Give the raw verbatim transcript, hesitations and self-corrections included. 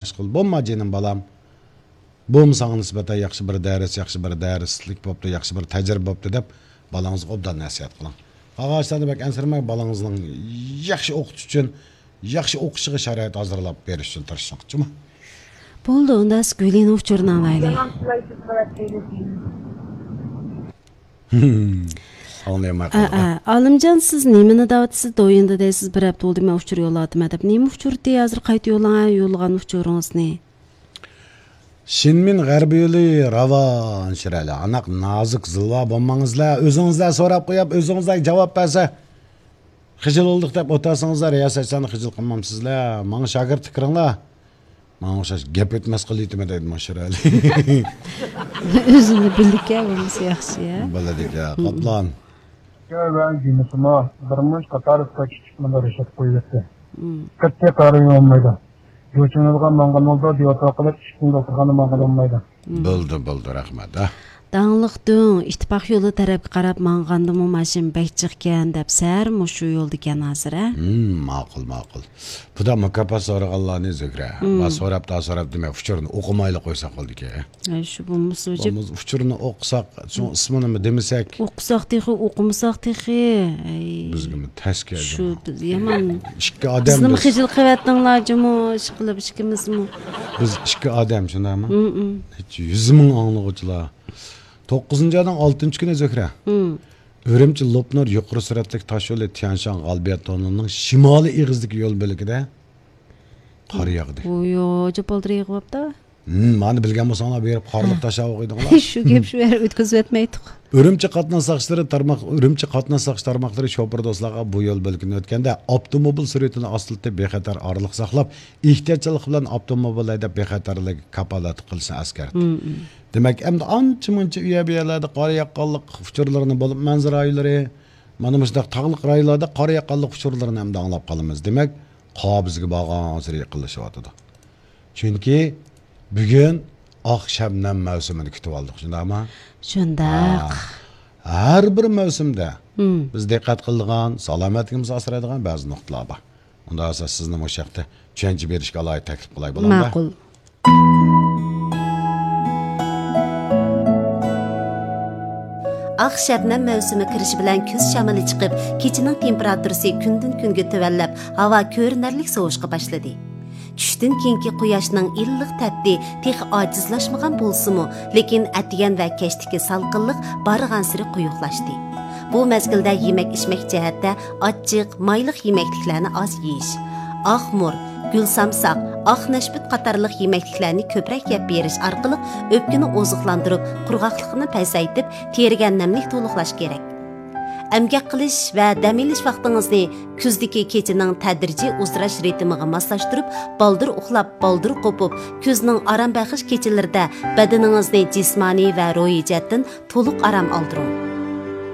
ئىشقىل، بولما جېنىم بالام. بۇمۇ ساڭا نىسبەتەن ياخشى بىر دەرس، ياخشى بىر دەرسلىك بوپتۇ، ياخشى بىر تەجرىبە بوپتۇ دەپ، بالىڭىزغا ئوبدان نەسىھەت قىلىڭ. قالغان ئىشلارنى بەك ئەنسىرىمەڭ، بالىڭىزنىڭ ياخشى ئوقۇتۇش ئۈچۈن، ياخشى ئوقۇشىغا شارائىت ھازىرلاپ بېرىش ئۈچۈن تىرىشىڭ، جۇمۇ. بولدى، ئۇندا سىز گۈلىنىڭ ئۇچۇرىنى ئاڭلايلى. ئاڭلىيالماي ئا، قالدىم. ئا، ئالىمجان، سىز نېمىنى دەۋاتىسىز؟ دويىندا دەيسىز، بىر ھەپتە بولدى، مەن ئۇچۇر يوللاۋاتىمەن دەپ. نېمە ئۇچۇر دېدى؟ ھازىر قايتا يوللاڭ، ھە، يوللىغان ئۇچۇرىڭىزنى. شىنمىن غەربىي يولى راۋان شىرەلە. ئاناق نازۇك زىلۋا بولماڭىزلە. ئۆزىڭىزلە سوراپ قويۇپ، ئۆزىڭىزلە جاۋاب بەرسە، خىجىل بولدۇق دەپ ئولتۇرسىڭىزلە، رىياسەتچىلەرنى خىجىل قىلمامسىزلە. ماڭا شاگىرتلىق كىرىڭلار. ماڭا ئوخشاش گەپ ئۆتمەس قىلىۋېتىمەن دەيدۇ ماشۇرالى. ئۆزىنى بىلىدىكەن، بولمىسا ياخشى، يا. بىلىدىكەن، قاپلان. ئىككى ۋە جىمىسىمۇ بىر مۇنچە قاتار ئىشلار كىچىك مۇندا رىشات قويۇۋەتتى. مم. قەتئىي قارىيالمايدۇ. جۇچىڭىزغا ماڭغان بولىدۇ، دېۋاتىۋاتقىلى ئىككى كۈن دوختۇرخانا ماڭغىلى بولمايدۇ. مم. بىلدىم، بىلدىم، رەھمەت، ھە. داڭلىق دۆڭ، ئىتتىپاق يولى تەرەپكە قاراپ ماڭغاندىمۇ ماشىنا بەك جىقكەن دەپ، سەھەر مۇشۇ يولدىكەن ھازىر، ھە؟ ھىم، ماقۇل، ماقۇل. بۇدا مۇكاپات سورىغانلارنى زۆھرە. ھىم. ۋە سوراپ، دا سوراپ دېمەي، ئۇچۇرنى ئوقۇمايلا قويساق بولىدىكەن. ئەي، شۇ بولمىسا، بولمىسا، ئۇچۇرنى ئوقۇساق، شۇ ئىسمىنىمۇ دېمىسەك. ئوقۇساق تېخى، ئوقۇمىساق تېخى. ئەي. بىزگىمۇ تەس كەلدى. شۇ بىز يامان. ئىككى ئادەم بىزنىمۇ بىز. خىجىل قىلىۋەتتىڭلار جۇمۇ، ئىشقىلىپ ئىككىمىزمۇ. بىز ئىككى ئادەم، شۇنداقمۇ؟ ھىم، ھىم. ھېچ يۈز مىڭ ئاڭلىغۇچىلار. توققۇزىنچى ئاينىڭ ئالتىنچى كۈنى زۆھرە. ھىم. ئۈرۈمچى لوپنۇر يۇقىرى سۈرئەتلىك تاش يولى تيەنشان غالىبىيەت توننېلىنىڭ شىمالىي ئېغىزىدىكى يول بۆلىكىدە قار ياغدى. ۋويو، جاپالدىرى يېغىۋاپتا. ھىم، مانا بىلگەن بولساڭلار بېرىپ قارلىق ھە. تاشلاپ ئوقۇيدىغانلار. شۇ گەپ شۇ يەر ئۆتكۈزۈۋەتمەيتتۇق. ئۈرۈمچى قاتناش ساقچىلىرى تارماق، ئۈرۈمچى قاتناش ساقچى تارماقلىرى شوپۇر دوستلارغا بۇ يول بۆلىكىنى ئۆتكەندە ئاپتوموبىل سۈرئىتىنى ئاستىلىتىپ بىخەتەر ئارىلىق ساقلاپ، ئېھتىياتچانلىق بىلەن ئاپتوموبىل ھەيدەپ بىخەتەرلىككە كاپالەتلىك قىلىشنى ئەسكەرتتى. مم، مم. دېمەك، ئەمدى ئانچە مۇنچە ئۇ يەر بۇ يەرلەردە قار ياغقانلىق ئۇچۇرلىرىنى بولۇپ، مەنزىرە رايونلىرى، مانا مۇشۇنداق تاغلىق رايونلاردا قار ياغقانلىق ئۇچۇرلىرىنى ئەمدى ئاڭلاپ قالىمىز. دېمەك، قار بىزگە بارغانسېرى يېقىنلىشىۋاتىدۇ. چۈنكى بۈگۈن ئاق شەبنەم مەۋسۇمىنى كۈتۈۋالدۇق، شۇنداقمۇ؟ شۇنداق. ھە. ھەر بىر مەۋسۇمدە مم. بىز دىققەت قىلىدىغان، سالامەتلىكىمىزنى ئاسرايدىغان بەزى نۇقتىلار بار. ئۇنداق بولسا سىزنى مۇشۇ ياقتا چۈشەنچە بېرىشكە ئالاھىدە تەكلىپ قىلاي، بولامدۇ؟ ماقۇل. ئاق شەبنەم مەۋسۇمى كىرىشى بىلەن كۈز شامىلى چىقىپ، كېچىنىڭ تېمپېراتۇرىسى كۈندىن-كۈنگە تۆۋەنلەپ، ھاۋا كۆرۈنەرلىك سوۋۇشقا باشلىدى. چۈشتىن كېيىنكى قۇياشنىڭ ئىللىق تەپتى تېخى ئاجىزلاشمىغان بولسىمۇ، لېكىن ئەتىگەن ۋە كەچتىكى سالقىنلىق بارغانسېرى قويۇقلاشتى. بۇ مەزگىلدە يېمەك-ئىچمەك جەھەتتە ئاچچىق، مايلىق يېمەكلىكلەرنى ئاز يېيىش، ئاق مۇر، گۈل سامساق، ئاق نەشپۈت قاتارلىق يېمەكلىكلەرنى كۆپرەك يەپ بېرىش ئارقىلىق ئۆپكىنى ئوزۇقلاندۇرۇپ، قۇرغاقلىقنى پەسەيتىپ، تېرىگە نەملىك تولۇقلاش كېرەك. ئەمگەك قىلىش ۋە دەم ئېلىش ۋاقتىڭىزنى كۈزدىكى كېچىنىڭ تەدرىجىي ئۇزىراش رىتىمىغا ماسلاشتۇرۇپ، بالدۇر ئۇخلاپ، بالدۇر قوپۇپ، كۈزنىڭ ئارام بەخش كېچىلىرىدە بەدىنىڭىزنى جىسمانىي ۋە روھىي جەھەتتىن تولۇق ئارام ئالدۇرۇڭ.